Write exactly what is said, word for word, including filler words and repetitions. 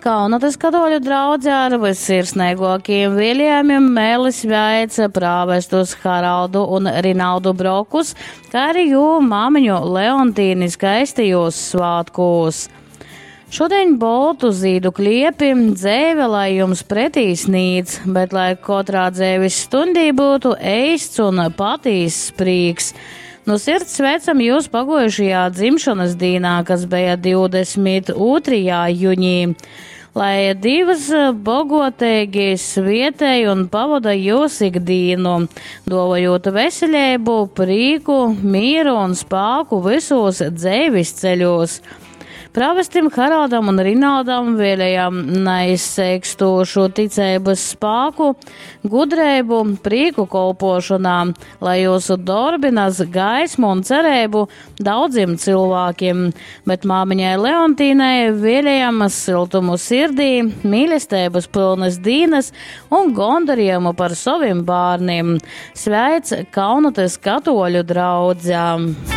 Kaunatas katoļu draudze ar vyssirsneigākajiem vēlējumiem mēli sveic prāvestus Haraldu un Rinaldu Brokus, kā arī jū māmiņu Leontīni skaistajos svātkos. Šodien boltu zīdu kliepi dzēve, lai jums pretī snīdz, bet lai katrā dzēves stundī būtu eists un patīss prīks. Nu sirds sveicam jūs pagojušajā dzimšanas dīnā, kas bija divdesmit otrajā jūnijā. Lai divas bogotīgi svietēj un pavada jūs ikdīnu, dovojot veselību, prīku, mieru un spāku visos dzēvis ceļos. Pravestim Haraldam un Rinaldam vēlējam neizseikstošu ticības spāku, gudrību, prieku kolpošanā, lai jūsu darbi nes gaismu un cerību daudziem cilvēkiem, bet māmiņai Leontīnai vēlējam siltumu sirdī, mīlestības pilnas dīnas un gondarījumu par saviem bērniem. Sveic Kaunatas katoļu draudzē!